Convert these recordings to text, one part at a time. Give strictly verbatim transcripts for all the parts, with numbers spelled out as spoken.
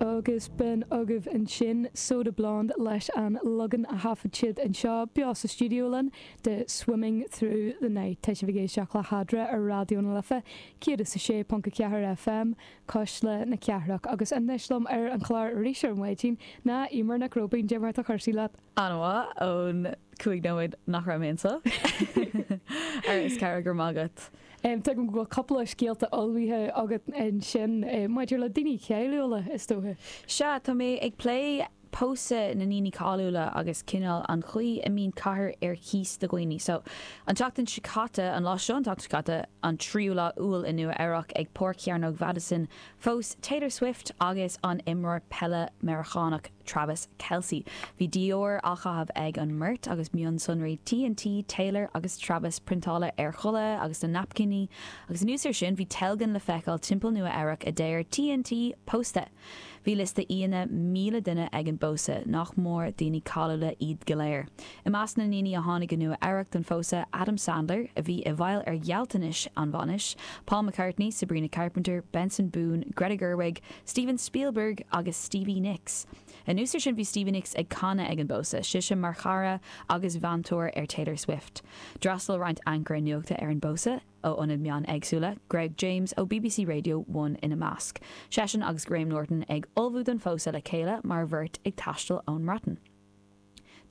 Agus b'in agaibh ansin Soda Blonde leis an leagan a thaifead siad anseo beo sa stiúideo linn de Swimming Through the Night. Tá sibh ag éisteacht le hEadra ar Raidió na Life, céad is a sé ponc a ceathair FM, Cuisle na Cathrach agus anois liom ar an chlár arís ar maidin ná Eimear Nic Róibín Cad é mar atá cúrsaí leat. An-mhaith ón cúig nóiméad nach raibh mé anseo ar is ceir gur magat. Um, Tuigim go bhfuil cúpla scéalta ullmhaithe agat ansin eh, maidir le daoine cáiliúla is dócha. Sea tá mé ag plé pósadh na ndaoine cáiliúla agus cineál an chaoi a mbíonn cathair ar cíos do dhaoine. So an tseachtain seo caite an lá seo an tseachtain seo caite an tríú lá Iúil i Nua Eabhrac ag Páirc Chearnóg Madison phós Taylor Swift agus an imreoir peile Meiriceánach Travis Kelce. Bhí Dior á chaitheamh ag an mbeirt agus mionsonraí TNT, Taylor agus Travis priontáilte ar chulaith agus na naipcíní, agus anuas air sin bhí teilgean le feiceáil timpeall Nua Eabhrac a deir TNT pósta. Bhí liosta aíonna míle duine ag an bpósadh nach mór daoine cáiliúla iad go léir. I measc na ndaoine a tháinig go Nua Eabhrac don phósadh Adam Sandler a bhí i bhfeighil ar ghealltanais an bhainis, Paul McCartney, Sabrina Carpenter, Benson Boone, Greta Gerwig, Steven Spielberg agus Stevie Nicks. Anuas air sin bhí Stevie Nicks ag canadh ag an bpósadh, sise mar chara agus mheantóir ar Taylor Swift. D'fhreastail roinnt ancaire nuachta ar an bpósadh ó ionaid meán éagsúla, Greg James ó BBC Radio One ina measc. Seisean agus Graham Norton ag ullmhú don phósadh le chéile mar bheirt ag taisteal ón mBreatain.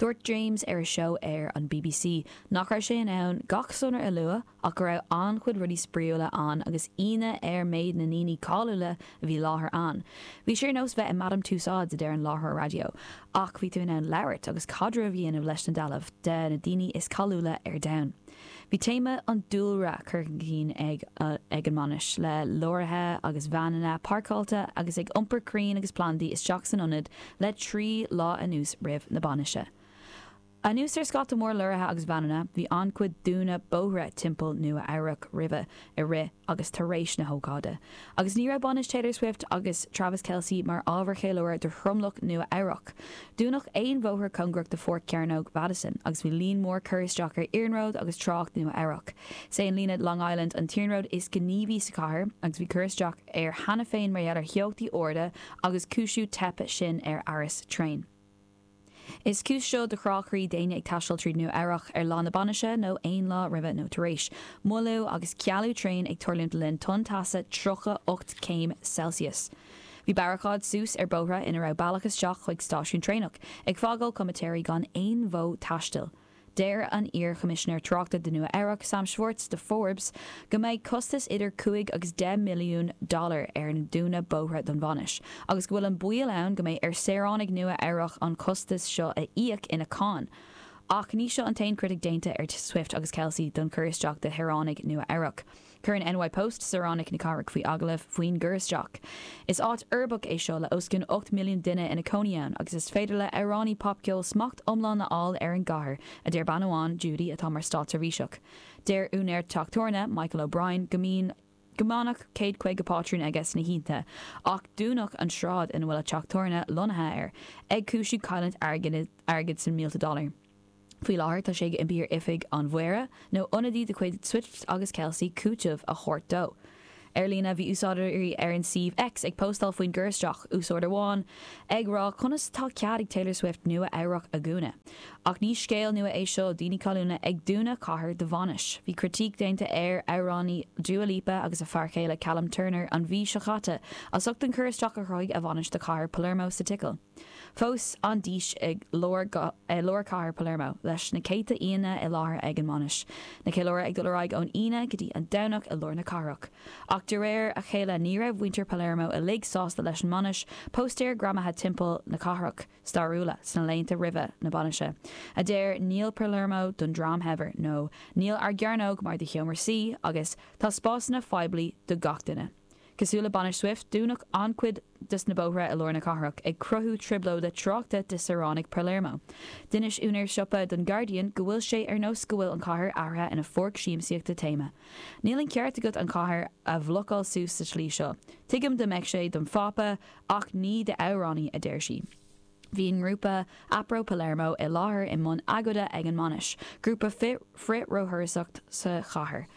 Dúirt James ar a seó ar an BBC nach raibh sé in ann gach sonra a lua ach go raibh an-chuid rudaí spraíúla ann agus ionadh air méid na ndaoine cáiliúla a bhí i láthair ann. Bhí sé ar nós bheith i Madame Tussauds a deir an láithreoir raidió, ach bhí tú in ann labhairt agus caidreamh a dhéanamh leis na dealbh de na daoine is cáiliúla ar domhan. Bhí téama an dúlra curtha chun cinn ag uh, ag an mbainis le leoraithe agus veaineanna páirceáilte agus ag iompar crainn agus plandaí isteach san ionad le trí lá anuas roimh na bainise. Anuas ar scata mór leoraithe agus veaineanna, bhí an-chuid dúnadh bóithre timpeall Nua Eabhrac roimhe i rith agus tar éis na hócáide. Agus ní raibh bainis Taylor Swift agus Travis Kelce mar ábhar ceiliúrtha do thromlach Nua Eabhrac. Dúnadh aon bhóthar cóngarach do Pháirc Chearnóg Madison, agus bhí líon mór cur isteach ar iarnród agus trácht Nua Eabhrac. Is é an líne Long Island an t-iarnród is gníomhaí sa chathair, agus bhí cur isteach air cheana féin mar gheall ar theochtaí arda agus cúiseanna teipe sin ar fhearas traein. Is cúis seo do chrá croí d'éinne ag taisteal tríd Nua Eabhrac ar lá na bainise nó aon lá roimhe nó tar éis. Moilliú agus cealú traein ag tarlúint le linn tonn teasa tríocha ocht céim Celsius. Bhí barricáid suas ar bóithre ina raibh bealach isteach chuig stáisiún traenach, ag fágáil comaitéirí gan aon mhodh taistil. Deir an iar-choimisinéir tráchta de Nua Eabhrac Sam Schwartz do Forbes go mbeidh costas idir cúig agus deich milliún dollar ar an dúnadh bóithre don bhainis, agus go bhfuil an baol ann go mbeidh ar saoránaigh Nua Eabhrac an costas seo a íoc ina cáin. Ach ní seo an t-aon chritic déanta ar Swift agus Kelce don chur isteach de shaoránaigh Nua Eabhrac. Chuir an NY Post saoránaigh na cathrach faoi agallamh faoin gcur isteach. Is áit uirbeach é seo le os cionn ocht milliún duine ina cónaí ann agus is féidir le amhránaí popcheoil smacht iomlán a fháil ar an gcathair, a deir bean amháin Judy atá mar státseirbhíseach. Deir úinéir teach tábhairne Michael O'Brien go mbíonn go minic céad caoga pátrún aige sna hoícheanta, ach dúnadh an sráid ina bhfuil a teach tábhairne lonnaithe air, ag cúisiú cailliúint airgid airgid sna mílte dollar. Faoi láthair tá sé ag impí ar oifig an mhéara nó ionadaí de chuid Swift agus Kelce cúiteamh a thabhairt dó. Ar líne bhí úsáideoirí ar an suíomh X ag postáil faoin gcur isteach úsáideoir amháin ag rá conas tá cead ag Taylor Swift Nua Eabhrac a dhúnadh. Ach ní scéal nua é seo daoine cáiliúla ag dúnadh cathair do bhainis. Bhí critic déanta ar amhránaí Dua Lipa agus a fear céile Callum Turner an mhí seo caite as ucht an cur isteach a chruthaigh a bhainis do chathair Palermo sa tSicil. Phós an dís ag lár lár cathair Palermo leis na céadta aíonna i láthair ag an mbainis. Na ceiliúradh ag dul ar aghaidh ón Aoine go dtí an Domhnach i lár na cathrach. Ach de réir a chéile ní raibh muintir Palermo uilig sásta leis an mbainis, póstaeir greamaithe timpeall na cathrach stairiúla sna laethanta roimhe na bainise. A deir níl Palermo don dream shaibhir nó níl ár gcearnóg mar do sheomra suí agus tá spásanna poiblí do gach duine. Cosúil le bainis Swift dúnadh an-chuid des na bóithre i lár na cathrach ag cruthú trioblóide tráchta do saoránaigh Palermo. D'inis úinéir siopa don Guardian go bhfuil sé ar nós go bhfuil an chathair athraithe ina pháirc siamsaíochta téama. Níl an ceart agat an chathair a bhlocáil suas sa tslí seo. Tuigim dá mbeadh sé don Phápa ach ní d'amhránaí a deir sí. Bhí an grúpa Apro Palermo i láthair i mbun agóide ag an mbainis, grúpa frith-róthurasóireachta sa chathair.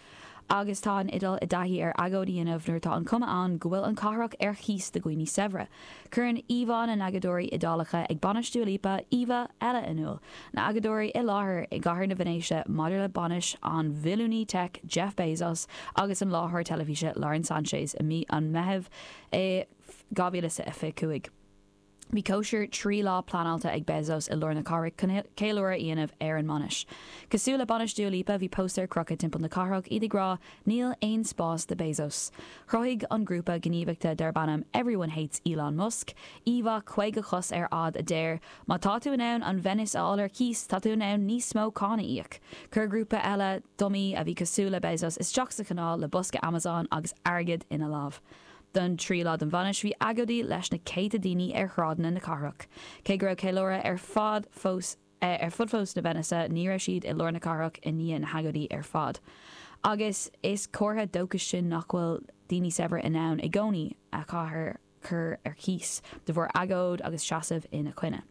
Agus tá an Iodáil i dtaithí ar agóid a dhéanamh nuair atá an cuma ann go bhfuil an cathrach ar chíos do dhaoine saibhre. Cuireann íomhá na n-agóideoirí Iodálacha ag bainis Dua Lipa íomhá eile in iúl. Na agóideoirí i láthair i gcathair na Veinéise maidir le bainis an bhilliúnaí tech Jeff Bezos agus an láithreoir teilifíse Lauren Sanchez i mí an Mheithimh i dhá mhíle is a fiche cúig. Bhí cóisir trí lá pleanáilte ag Bezos i lár na cathrach chun ceiliúradh a dhéanamh ar an mbainis. Cosúil le bainis Dua Lipa bhí póstaeir crochta timpeall na cathrach iad ag rá níl aon spás do Bezos. Chruthaigh an grúpa gníomhaíochta darb ainm Everyone Hates Elon Musk, íomhá caoga cos ar fhad a deir, má tá tú in ann an Venice a fháil ar cíos, tá tú in ann níos mó cáin a íoc. Chuir grúpa eile dummy a bhí cosúil le Bezos isteach sa chanáil le bosca Amazon agus airgead ina lámh. Don trí lá den bhainis bhí agóidí leis na céadta daoine ar shráideanna na cathrach. Cé go raibh ceiliúradh ar fad fós eh, ar fud fós na Venice ní raibh siad i lár na cathrach i ndiaidh na hagóidí ar fad. Agus is comhartha dóchais sin nach bhfuil daoine saibhir in ann i gcónaí a chathair chur ar cíos de bharr agóid agus seasamh ina coinne.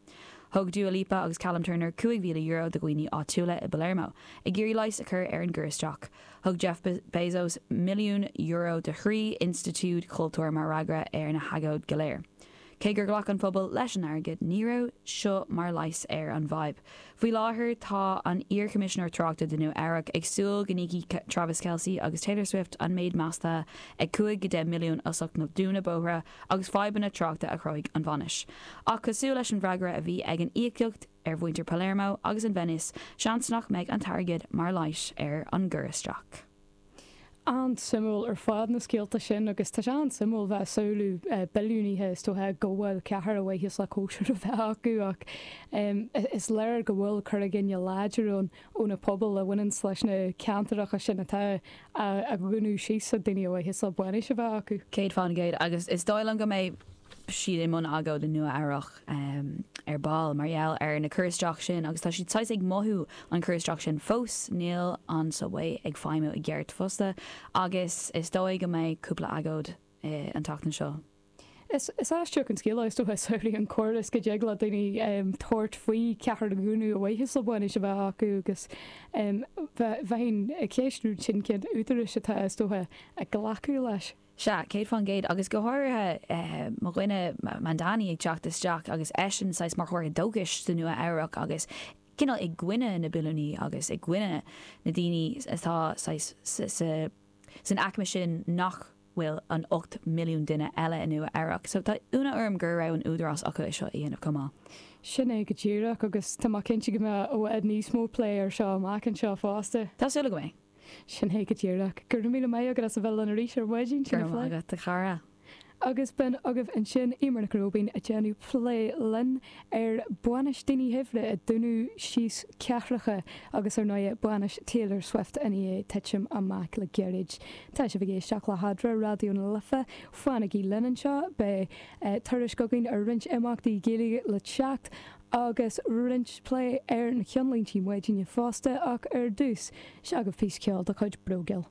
Thug Dua Lipa agus Callum Turner cúig mhíle euro do dhaoine áitiúla i Palermo, ag iarraidh leigheas a chur ar an gcur isteach. Thug Jeff Bezos milliún euro do thrí institiúid chultúir mar fhreagra ar na hagóidí go léir. Cé gur ghlac an phobal leis an airgead ní raibh seo mar leigheas ar an bhfadhb. Faoi láthair tá an iar-choimisinéir tráchta do Nua Eabhrac ag súil go n-íocfaidh Travis Kelce agus Taylor Swift an méid measta ag cúig go deich milliún as ucht na dúnadh bóithre agus fadhbanna tráchta a chruthaigh an bhainis. Ach cosúil leis an bhfreagra a bhí ag an íocaíocht ar mhuintir Palermo agus an Venice, seans nach mbeidh an t-airgead mar leigheas ar an gcur isteach. An-suimiúil ar fad na scéalta sin agus tá sé an-suimiúil bheith samhlú billiúnaithe is dócha go bhfuil ceathair a bhfuitheas le cóisir a bheith acu ach is léir go bhfuil cur i gcoinne láidir ann ó na pobail a bhaineann leis na ceantracha sin atá a dhúnadh síos a daoine a bhfuitheas le bainis a bheith acu. Céad faoin gcéad agus is dóigh liom go mbeidh siad i mbun agóid i Nua Eabhrac um, ar ball mar gheall ar na cur isteach sin agus tá siad saghas ag mothú an cur isteach sin fós níl an subway ag feidhmiú i gceart fosta agus is dóigh go mbeidh cúpla agóid eh, an tseachtain seo. Is is aisteach an scéal is dócha samhlaigh an córas go dtig le daoine um, tabhairt faoi ceathair a dhúnadh a bhfuitheas le bainis a bheith acu agus um, bheinn ag ceistiú sin cén údarais atá is dócha ag glacadh leis. Sea, céad faoin gcéad agus go háirithe eh, mo dhuine Mamdani ag teacht isteach agus eisean saghas mar chomhartha dóchais do Nua Eabhrac agus cineál i gcoinne na billiúnaí agus i gcoinne na daoine atá san aicme sin nach bhfuil an ocht milliún duine eile i Nua Eabhrac, so tá ionadh orm go raibh an údarás acu é seo a dhéanamh chomh maith. Sin é go díreach agus tá mé cinnte go mbeidh i bhfad níos mó plé ar seo amach anseo fosta. Tá súil agam é. Sin é go díreach gur míle maith agat as a bheith linn arís ar maidin sin Gur agat a chara. Agus b'in agaibh ansin Eimear Nic Róibín ag déanamh plé linn ar bainis daoine shaibhre ag dúnadh síos ceathracha agus ar ndóigh bainis Taylor Swift ina dhiaidh titim amach le gairid. Tá sibh ag éisteacht le hEadra Raidió na Life fanaigí linn anseo beidh eh, tuairisc againn ar roinnt imeachtaí Gaeilge le teacht agus roinnt plé ar na ceannlínte maidine fosta ach ar dtús seo agaibh píosa ceoil de chuid Brogel.